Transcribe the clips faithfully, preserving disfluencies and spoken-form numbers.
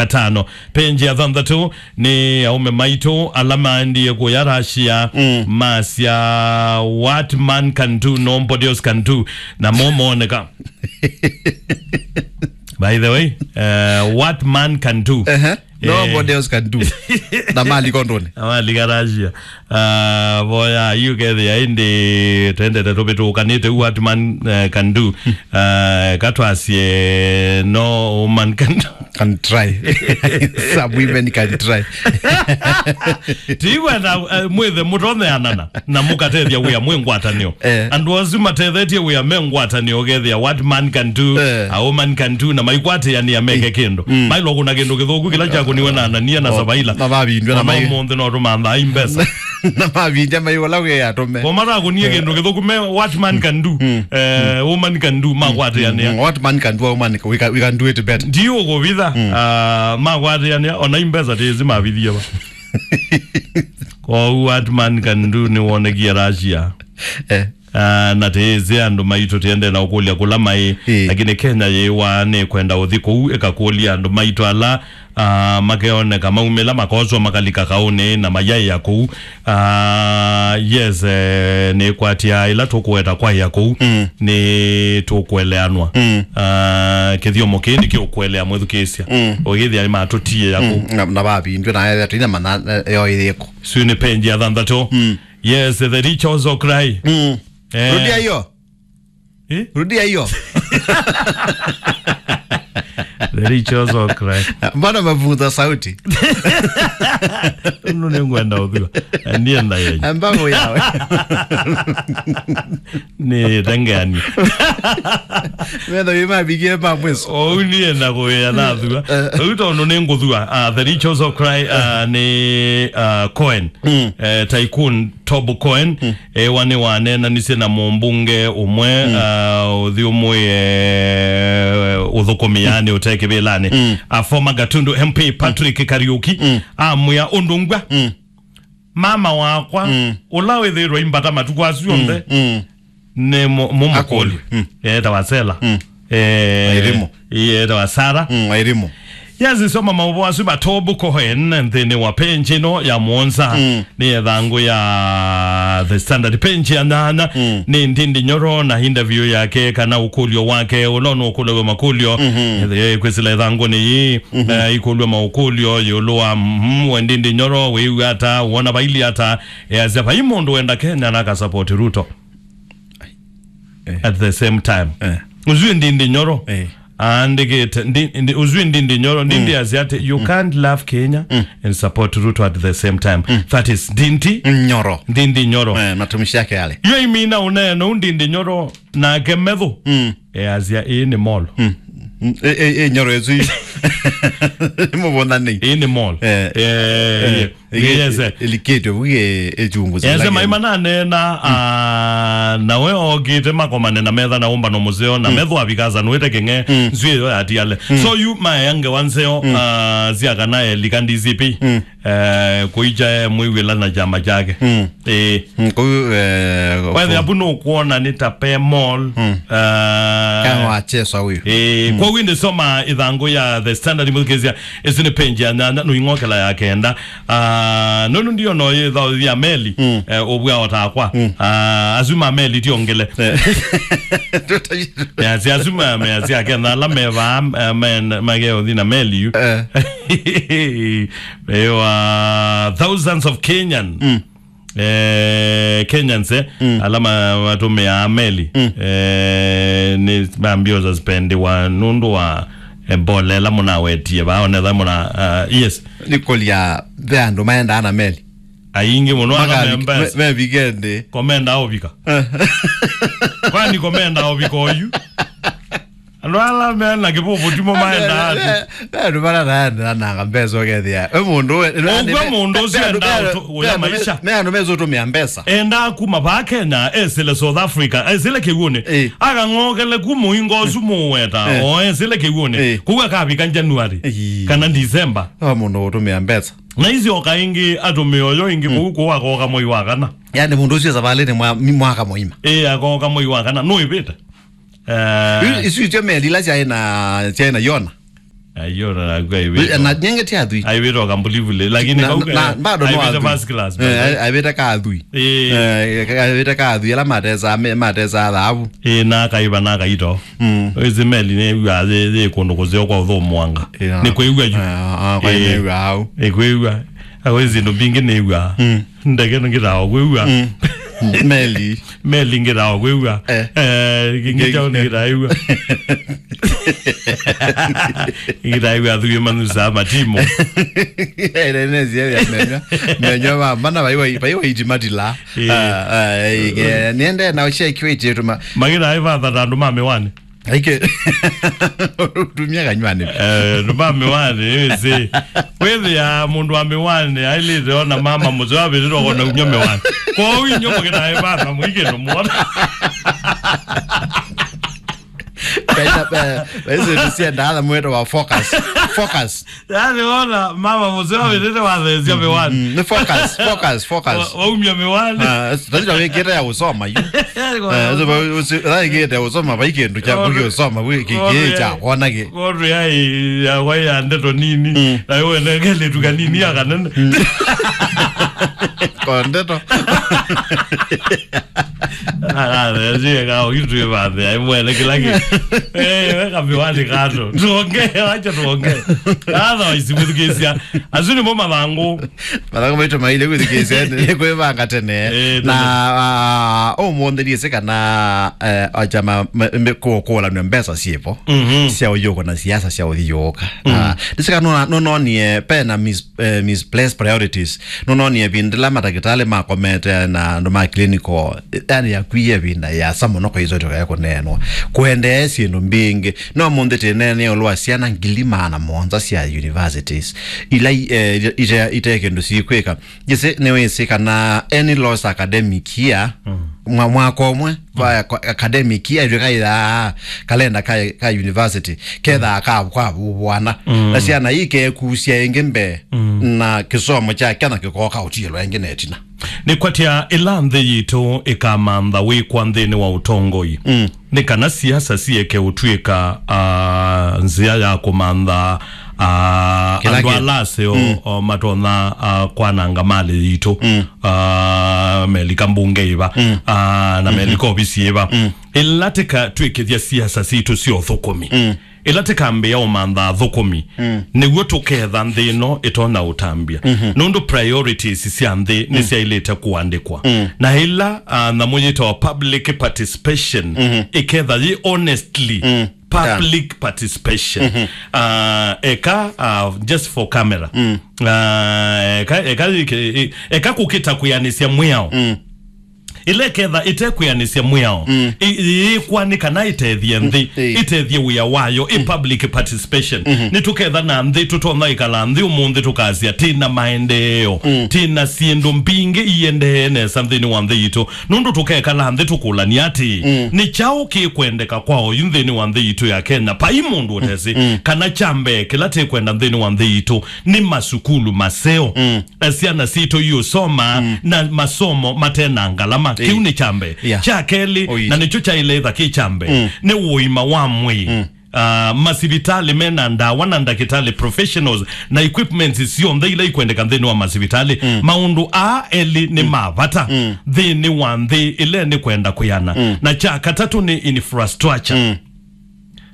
katano. Page ya thanthatũ nĩ aũme maitũ ala maendie kũya Russia, mm, masya, "What man can do, nobody else can do," na mo mooneka. By the way, uh, what man can do. Ehe. Eh. Nobody else can do. Na mali kondoni. Na mali Russia. Ah, boya, yu kethĩa ĩndĩ twendete tũvĩtũkanĩte, what man, eh, can do. Ah, katwasye, no woman can do. Can try. Some women can try. Tiwenda, eh, mwĩthe mũtoneanana na mũkatethya wĩa mwĩ ngwatanĩo. Eh. Andũ asu matethetye wĩa me ngwatanĩo, ũkethĩa what man can do, eh, a woman can do, na maikwatĩanĩa meke kĩndũ. Mm. Mailwa kũna kĩndũ kĩthũku kĩla kyakũniwe na Anania na Sabaila. Na mavindwe na mai- ũmũnthĩ no tũmanthaa i mbesa. Na mavindya mai ũla wĩ atũme. Kwa matakũnie kĩndũ kĩthũku me what man can do, eh, woman can do, makwatĩanĩa. Mm, what man can do, a woman, we can, we can do it better. Ndiũkũvitha, ah, makwatĩanĩa, ona i mbesa tĩĩsĩ mavithie va. Kwoou what man can do nĩwonekie Russia. Eh. Ah, na tĩĩsĩ andũ maitũ tĩendee na ũkũlya kũla maĩ, ĩĩ, lakini Kenya yĩwa nĩkwenda ũthi kũu ĩkakũlya andũ maitũ ala, ah, makeoneka maumĩla makoswa makalika kaũnĩ na mayaĩa kũu. Ah, yes, eh, nĩkwatĩa ĩla tũkũweta kwaĩa kũu, mm, nĩtũkũeleanwa. Mm. Ah, kĩthyomo kĩĩ nĩkĩũkũelea mwĩthukĩĩsya. Mm. Ũkĩthĩa nĩmatũtiĩa kũu. Mm. Na, na vavindwe na ethĩa tũinamanya, eh, yoĩthĩko. Sio nĩ page ya thanthatũ. Mm. Yes, the rich also cry. Mm. Eh. Rudia hiyo. Eh? Rudia hiyo. The rich also cry. Mbona umepunguza sauti? Nũndũ nĩngwenda ũthua. Ndienda yenyu. Amba yawe. Nĩ tengeani. Metha wĩ mabigie ma mwiso. Ou nienda kũwĩa na thua. Eh. Rĩu tondũ nĩngũthua, ah, the rich also cry, ah, nĩ, ah, Cohen. Mm. Eh, Tycoon Tob Cohen, mm, ewa nĩwaneenanisye na mũmbunge ũmwe, mm, ah, ũthyũmũĩe ũthũkũmi, yaani, ũte kĩvĩlanĩ. Mm. A former Gatundu M P Patrick Kariuki, mm, amwĩa ũndũ ngwa, mm, mama wakwa, mm, ũla wĩthĩĩtwe imbata matukũ asu onthe, mm, nĩ mũ-, mũmũkũlyo. Akũlyo. Mm. Eetawa Sela. Mm. Eh, Wairimu. Ĩĩ, eetawa Sarah. Mm, Wairimu. Yes, soma maũvoo asu ma Tob Cohen nthĩnĩ wa page ĩno ya mũonza. Mm. Nĩ ĩthangũ ya The Standard, page ya nyanya. Mm. Nĩ Ndindi Nyoro na interview yake kana ũkũlyo wake, ũla ũnũkũlaw'a makũlyo. Mhm. Eh, kwĩsĩla ĩthangũnĩ yĩĩ, mhm, eh, ikũlw'a maũkũlyo ĩũlũ wa, mhm, we Ndindi Nyoro, wĩw'a ata, wona vaili ata, easya vai mũndũ wenda Kenya na akasapoti Ruto. Eh. At the same time. Eh. Ũsu Ndindi Nyoro. Eh. Aandĩkĩte, ndi, ndi, ũsu Ndindi Nyoro, Ndindi, mm, asya atĩ, "You, mm, can't love Kenya, mm, and support Ruto at the same time." Mm. That is Ndindi Nyoro. Ndindi Nyoro. Eh, matumishi yake yale. Yo imina ũneena ũu Ndindi Nyoro nake metho. Mm. Eh, asya, "Ĩĩ nĩ mall." Mm. Mm. Eh, eh, eh, Nyoro ĩsu. Mũvũnani. Ĩĩ nĩ mall. Eh. Eh, eh. Yes, eh. Ĩlikĩtwe vu ĩ-, ĩchunguzi. Ese maima nanena, ah, nawe okĩte makomane na metha na ũmbano mũseo, na metho avikasa nũĩte kĩng'e, nzw'ĩ ĩyo yatiale. So yu maea ngewa nzeo, ah, sya kana elika D C P, eh, kũicha e mwĩw'ĩla na kyama kyake. Ĩĩ. Mm, kũu, eh, wethe apu nũkwona nĩ ta pe mall, ah, kana wacheswa ũyu. Ĩĩ, kwoou ĩndĩ soma ĩthangũ ya The Standard, mũthikĩĩsya, ĩsu nĩ page ya nyanya, nũing'okela ya kenda. Ah, nũndũ ndiona ũyĩthaũthya meli, eh, ũvw'a o takwa. Ah, asu ma meli ti ongele. Eh. Measya asu ma, measya akena ala mevaa, eh, men-, mageũthi na meli yu. Eh. Mewa thousands of Kenyan. Eh, Kenyans, eh, ala ma-, matũmĩaa meli, eh, nĩ mambio suspendiwa nũndũ wa, eh, mbolela mũnawetie vaa, onetha mũna, ah, yes. Nĩ kũlya ve andũ maendaa na meli. Aingĩ mũno ala me mbesa. Me, me vikendi. Komenda ovika. Kwani komenda ovika oyu? Andũ ala me na kĩvũvũ timo maendaa ati. Ve, ve, ve andũ mara naendananga mbesa ũkethĩa. We mũndũ we, ũkw'a mũndũ ũcio endaa ũya maisha. Me andũ mesũtũmĩa mbesa. Endaa kuma vaa Kenya, esĩle South Africa, esĩle kĩw'ũnĩ. Eh. Akang'okele ku mũingo ũsu mũweta, eh, o esĩle kĩw'ũnĩ. Eh. Kũu akavika January, ĩĩ, kana December. Ve mũndũ ũtũmĩa mbesa. Na isyoka ĩngĩ atũmĩa ũyo ĩngĩ kũu, kũu akoka mwei wa kana. Yaani mũndũ ũcio savalĩnĩ mwa-, mwaka mũima. Ĩĩ, akoka mwei wa kana. Nũĩvĩte. Eh. Isu, isu ityo meli ila syaĩ na, syaĩ na Yona. Ayo, na naku aivĩtwa. Na nyenge ti athui. Aivĩtwa kambulivule, lakini na, kauka, na, bado no aivĩte athui. First class, eh, by the way. Ai-, aivĩte ka athui. Eh. Eh, ka-, aivĩte ka athui, ala matesa, me-, matesa thavu. Eh, na akaiva, na akaito. Mm. Ĩsĩ meli nĩw'a yĩ, yĩ kũndũ kũseo kwa ũthũmũanga. Yeah. Nĩ kwĩw'a yu. Ah, ah, kwa eh, nĩw'a au. Nĩ kwĩw'a. Awe syĩndũ mbingĩ nĩw'a. Mm. Ndege nĩngĩtaa kwĩw'a. Mm. Meli. Meli ngĩtaa kwĩw'a. Eh. Eh, kĩngĩ kyaũ nĩngĩtaa kwĩw'a. Ngĩtaa kwĩw'a athuĩ manusaa matimũ. Ene nĩsĩ ya menyo. Menyo ma, mana vai vai, vai vai iti matila. Eh. Ah, ah, eh, eh, niende na ũcheki wĩtĩtuma. Magĩtaa ĩvatha ta andũ ma mĩwani. Aike. Tumia kanywani. Eh, andũ ma mĩwani, ĩsĩ. Wĩthĩa mũndũ wa mĩwani, ailĩte ona mama mũseo avĩtĩtwe kona umya mĩwani. Kwoou inyuĩ mũkĩtaa ĩvatha, mũikĩndũ muona. Kaita, eh, ĩsĩ nĩsiendaa na mwĩto wa focus. Focus. Yaani, wona mama mũseo avĩtĩte watheesya mĩwani. Mm, nĩ focus, focus, focus. Wa-, waumya mĩwani. Ah, tatizo wĩkĩte ya usoma yu. Yaani, eh, wona so, ba-, usi-, wĩkĩte ya usoma, vai kĩndũ kya kũkĩ usoma, wĩ kĩ-, kĩ-, kya kuona kĩ. Kũndũ ya, ya, ya, ya ndeto nini. Mm. Na wewe nengele tu kanini ya kanene. Mm. Kwa ndeto. Arezie kao itwĩ vathe ai mwene kĩla kĩ. Eh, weka mĩwani kando. Tuongee, acha tuongee. Otherwise, mũthikĩĩsya. Asu nĩmo mathangũ. Mathangũ maitũ maile kwĩthikĩĩsya, nĩ kwĩvanga tene. Eh, na, tene. Ah, ũmũnthĩ ndiĩsĩ kana, eh, acha ma, ma, me-, kũ-, kũũlanw'a mbesa syĩvo. Mhm. Sya ũyũko na siasa sya ũthi yũka. Mm. Ah, ndĩsĩ kana nũna-, nũnonie pena mis-, eh, misplaced priorities. Nũnonie ĩvinda ĩla matakĩtalĩ makomete na andũ ma clinical, yani, yakwie ĩvinda yasa mũno kwa isoto ya kũneenwa. Kũendee syĩndũ mbingĩ. No mũnthĩ tĩneenea ĩũlũ wa syana ngili maana mũonza sya universities. Ila i-, eh, ite, ite kĩndũ sikwĩka. Jĩsĩ nĩwĩsĩ kana any lost academic year, mm, mwa-, mwaka ũmwe, va-, kwa-, academic year, ĩtw'ĩka ĩthaa kalenda ka, ka university, kethaa ka, kwa vwana. Mm. Na syana ikekusya ĩngĩ mbee, mm, na kĩsomo kya kya na kĩkooka ũtiĩlwa ĩngĩ na ĩtina. Nĩkwatya ĩla nthĩ yitũ ĩkamantha wĩkwa nthĩnĩ wa ũtongoi. Mm. Nĩ kana siasa sieke ũtw'ĩka, ah, nzĩa ya kũmantha, ah, kĩla andũ kĩ-, ala aseo, mm, o, matonya, ah, kwananga malĩ yitũ. Mm. Ah, melika mbunge ĩva, mm, ah, na, mhm, melika ovisi ĩva. Mm. Ĩla tĩkatw'ĩkĩthya siasa sitũ sya ũthũkũmi. Mm. Ĩla tĩkambĩĩa ũmantha athũkũmi, mm, nĩw'o tũketha nthĩ ĩno ĩtonya ũtambya. Mhm. Nũndũ priorities sya nthĩ, mm, nĩsyaĩlĩte kũandĩkwa. Mm. Na ĩla, ah, nyamũ yĩtawa public participation, mhm, ĩketha yĩ honestly, mm, public, yeah, participation. Mhm. Ah, eka, ah, just for camera. Mm. Ah, eka, eka, eka, eka kũkĩta kwĩanĩsya mwĩao. Mm. Ĩla ĩketha ĩtekwĩanĩsya mwĩao, mm, ĩ-, ĩyĩkwa nĩ kana ĩtethye nthĩ, mm, ĩĩ, ĩtethye wĩa wayo, ĩ, mm, public participation. Mhm. Nĩtũketha na nthĩ, tũtonya ĩkala nthĩ ũmũnthĩ tũkasya, "Tĩ na maendeeo, mm, tĩ na syĩndũ mbingĩ iendee nesa nthĩnĩ wa nthĩ yitũ." Nũndũ tũkekala nthĩ tũkũlany'a atĩĩ, mm, "Nĩ kyaũ kĩkwendeka kwa oyu nthĩnĩ wa nthĩ yitũ ya Kenya?" Vai mũndũ ũtesĩ, mm, mm, kana kya mbee kĩla tĩkwenda nthĩnĩ wa nthĩ yitũ nĩ masukulu maseo. Mm. Eh, syana sitũ iũsoma, mm, na masomo mate na ngalama. Ĩĩ. Kĩu nĩ kya mbee. Yeah. Kya kelĩ, oi, na nĩkyo kyaĩle ĩtha kĩ kya mbee, mm, nĩ ũima wa mwĩĩ. Mm. Ah, masivitalĩ me na ndawa na ndakĩtalĩ professionals na equipments syonthe ila ikwendeka nthĩnĩ wa masivitalĩ. Mm. Maũndũ aa elĩ nĩ, mm, ma vata, mm, nthĩnĩ wa nthĩ ĩla nĩ kwenda kwĩana. Mm. Na kya katatũ nĩ infrastructure. Mm.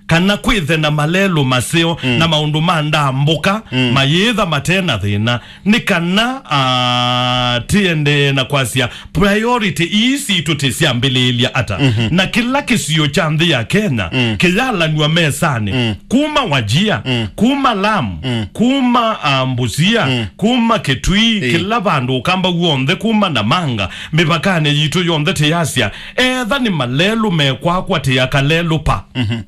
Kana kwĩthe na malelũ maseo, mm, na maũndũ ma ndambũka, mm, mayĩtha mate na thĩna. Nĩ kana, ah, tĩendee na kwasya priority ii sitũ tĩsyambĩlĩĩlya ata. Mhm. Na kĩla kĩsio kya nthĩ ya Kenya, mm, kĩyalanw'a mesanĩ, mm, kuma Wajir, mm, kuma Lamu, mm, kuma, ah, Busia, mm, kuma Kitui, ĩĩ, kĩla vandũ Ũkamba w'onthe, kuma Namanga, mĩvakanĩ yitũ yonthe tĩyasya, etha nĩ malelũ mekwakwa tĩaka lelũ pa. Mhm.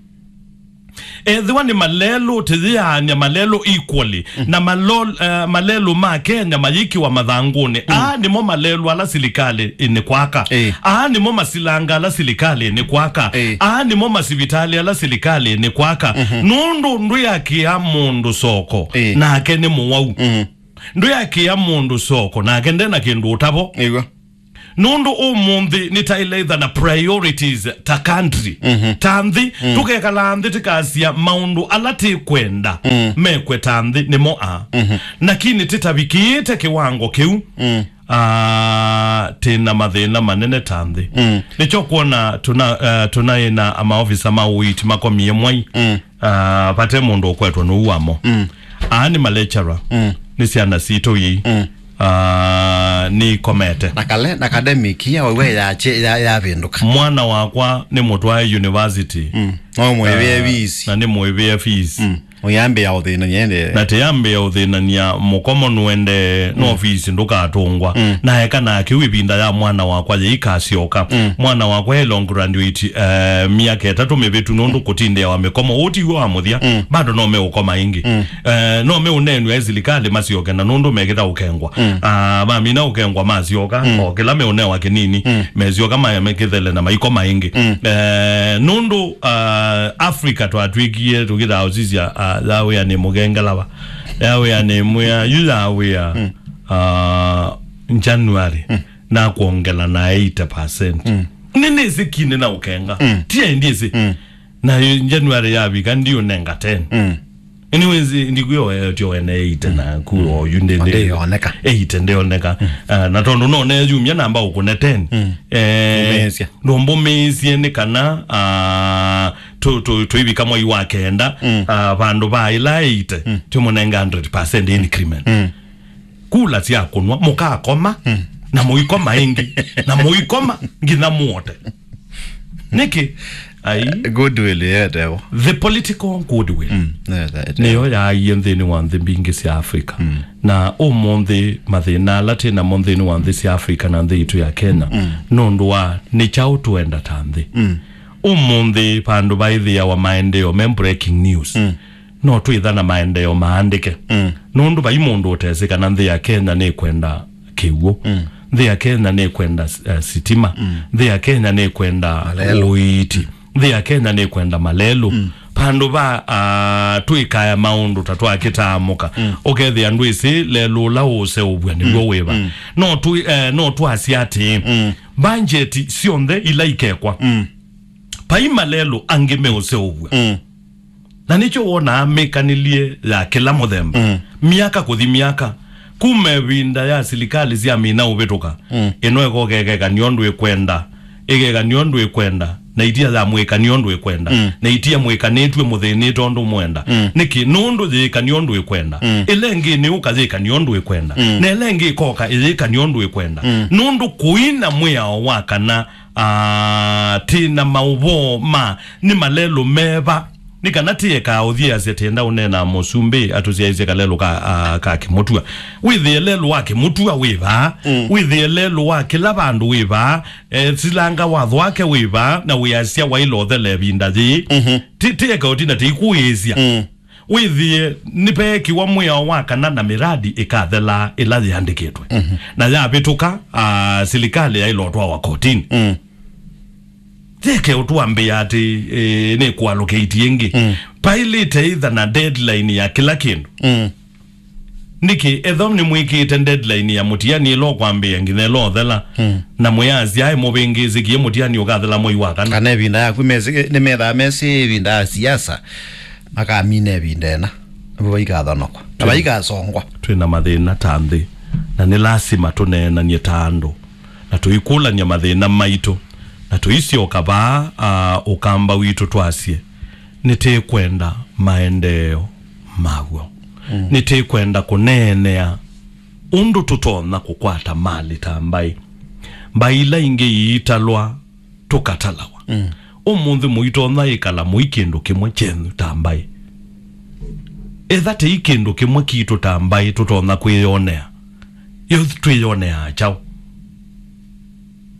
Ethĩwa nĩ malelũ, tĩyĩaany'a malelũ equally, mm, na malol-, eh, malelũ ma Kenya mayĩkĩwa mathangũnĩ. Mm. Aa nĩmo malelũ ala silikalĩ ĩnĩkwaka. Ĩĩ. Aa nĩmo masilanga ala silikalĩ ĩnĩkwaka. Ĩĩ. Aa nĩmo masivitalĩ ala silikalĩ ĩnĩkwaka. Mhm. Nũndũ ndwĩakĩa mũndũ soko, ĩĩ, nake nĩ mũwau. Mhm. Ndwĩakĩa mũndũ soko, nake nde na kĩndũ ũtavo. Ĩw'a. Nũndũ ũmũnthĩ nĩtaĩle ĩtha na priorities ta country, ta nthĩ, tũkekala nthĩ tĩkasya maũndũ ala tĩkwenda mekwe ta nthĩ nĩmo aa. Lakini tĩtavikĩĩte kĩwango kĩu, ah, tĩna mathĩna manene ta nthĩ. Nĩkyo kwona tũna, eh, tũnaĩ na amaovisa ma ũiiti makomie mwai. Ah, vate mũndũ ũkwetwa nũu wamo. Aa nĩ malecturer. Nĩ syana sitũ ii. Ah, nĩikomete. Na kale, na academic ya wawe ya che-, ya, yavĩndũka. Mwana wakwa nĩ mũtwae university. No mwĩvĩe fees. Na nĩ mwĩvĩe fees. Ũyambĩa ũthĩnania ende. Na tĩyambĩa ũthĩnania mũkomo nũende, no fees ndũkatũngwa. Na eka na kĩu ĩvinda ya mwana wakwa yĩikasyoka. Mwana wakwa e long graduate, eh, myaka ĩtatũ mĩvĩtu nũndũ kũtindĩa wa mĩkomo. Ũũ tiw'o wa mũthya. Bado no meũkoma ĩngĩ. Eh, no meũneenw'a e silikalĩ masyoke na nũndũ mekĩta ũkengwa. Ah, mamina ũkengwa masyoka, o kĩla meũnewa kĩnini, mesyoka ma-, mekĩthele na maikoma ĩngĩ. Eh, nũndũ, ah, Africa twatw'ĩkie tũkĩthaa ũsisya, ah, yawĩa nĩ mũgengelava. Yawĩa nĩ mwĩa, yu yawĩa, ah, January, na kwongela na eighty percent. Nĩ nĩsĩ kine na ũkenga. Ti aĩ ndiĩsĩ. Na January yavika, ndiũnenga ten. Anyways, ndikwĩo tio wene eighty na ku oyu ndi, ndi, ndĩoneka. Eighty ndĩoneka. Ah, na tondũ no neyumya namba ũkũne ten. Eh, ndũmbũmĩĩsye nĩ kana, ah, tũ, tũ, tũivika mwai wa kenda, ah, vandũ va ĩla eighty, tũmũnenga hundred percent increment. Kula sya kũnwa, mũkakoma, na mũikoma ĩngĩ, na mũikoma nginya mũote. Nĩkĩ? Ai. Goodwill yetevo. The political goodwill. Nĩyo yaie nthĩnĩ wa nthĩ mbingĩ sya Africa. Na ũmũnthĩ mathĩna ala twĩ namo nthĩnĩ wa nthĩ sya Africa na nthĩ itũ ya Kenya, nũndũ wa nĩ kyaũ tũenda ta nthĩ. Ũmũnthĩ vandũ vaĩthĩawa maendeeo me breaking news. No twĩtha na maendeeo maandĩke. Nũndũ vai mũndũ ũtesĩ kana nthĩ ya Kenya nĩkwenda kĩw'ũ. Nthĩ ya Kenya nĩkwenda, eh, sitima. Nthĩ ya Kenya nĩkwenda ũiiti. Nthĩ ya Kenya nĩkwenda malelũ. Vandũ va, ah, twĩkaya maũndũ ta twakĩtaamũka. Ũkethĩa ndwĩsĩ lelũ ũla ũũseũvw'a nĩw'o wĩva. No twi-, eh, no twasya atĩĩ, mbanjeti syonthe ila ikekwa, vai malelũ angĩ meũseũvw'a. Na nĩkyo wonaa mĩkanĩlye ya kĩla mũthemba. Myaka kũthi myaka, kuma ĩvinda ya silikalĩ syamina ũvĩtũka, ĩno ĩkoka ĩkekany'a ũndũ ĩkwenda, ĩkekany'a ũndũ ĩkwenda, na itia ya mwĩkany'a ũndũ ĩkwenda, na itia mwĩkanĩtw'e mũthĩnĩte ũndũ mwenda. Nĩkĩ? Nũndũ yĩĩkany'a ũndũ ĩkwenda. Ĩla ĩngĩ nĩũka yĩkany'a ũndũ ĩkwenda. Na ĩla ĩngĩ ĩkoka ĩyĩkany'a ũndũ ĩkwenda. Nũndũ kũina mwĩao wa kana, ah, tĩ na maũvoo ma nĩ malelũ meva. Nĩ kana tĩekaa ũthyĩasya tĩenda ũneena mũsumbĩ atũsyaĩĩsye kalelũ ka, ah, ka kĩmũtw'a. Wĩthĩe lelũ wa kĩmũtw'a wĩ vaa. Wĩthĩe lelũ wa kĩla vandũ wĩ vaa. Eh, silanga watho wake wĩ vaa, na wĩasya waĩle ũthela ĩvinda yĩĩ. Ti, tĩeka ũtina tĩikũĩĩsya. Wĩthĩe nĩveekiwa mwĩao wa kana na mĩradi ĩkathelaa ĩla yĩandĩkĩtwe. Na yavĩtũka, ah, silikalĩ yaĩle ũtwawa kotini. Yeke ũtwambĩa atĩ, eh, nĩ kũalũkĩti ĩngĩ. Pailĩte ĩtha na deadline ya kĩla kĩndũ. Nĩkĩ? Etho nĩmwĩkĩte deadline ya mũtiani ĩla ũkwambĩĩa nginya ĩla ũthela, na mwĩasya, "Ai, mũvĩngĩĩsĩkie mũtiani ũkathela mwei wa kana." Kana ĩvinda yaku mesĩ, nĩmethaa mesĩ ĩvinda ya siasa, makamina ĩvinda ĩna. Nĩvo vaikathanokwa. Na vaikasongwa. Twĩ na mathĩna ta nthĩ, na nĩ lasima tũneenanie ta andũ, na tũikũlany'a mathĩna maitũ, na tũisyoka vaa, ah, ũkamba witũ twasye, nĩtĩkwenda maendeeo maw'o. Nĩtĩkwenda kũneenea ũndũ tũtonya kũkwata malĩ ta mbaĩ. Mbaĩ ila ingĩ iitalwa, tũkatalawa. Ũmũnthĩ mũitonya ĩkala mũi kĩndũ kĩmwe kyenyu ta mbaĩ. Etha tĩi kĩndũ kĩmwe kitũ ta mbaĩ tũtonya kwĩyonea, yo twĩyoneaa kyaũ?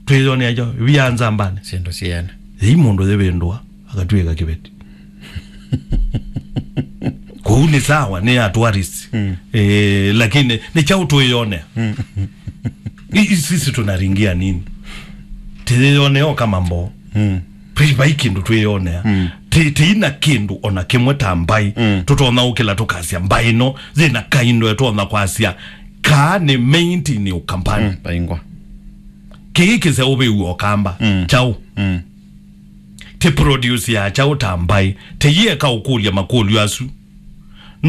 Twĩyonea kyaũ? Via nzambanĩ. Syĩndũ syene. Yĩi mũndũ yĩvĩndũa, akatw'ĩka kĩveti. Kũu nĩ sawa, nĩ ya tourist. Eh, lakini nĩ kyaũ twĩyonea? I-, i-, sisi tunaringia nini? Tĩyĩyonea o kama mboo. Vai, vai kĩndũ twĩyonea. Tĩ-, tĩina kĩndũ ona kĩmwe ta mbaĩ. Tũtonya ũkĩla tũkasya mbaĩ ĩno yĩna kaindo ĩtonya kwasya kaa nĩ maintain Ũkambani. Vaingwa. Kĩĩ kĩseũvĩw'e ũkamba. Mm. Kyaũ? Mm. Ti produce ya kyaũ ta mbaĩ? Ti yĩeka ũkũlya makũlyo asu.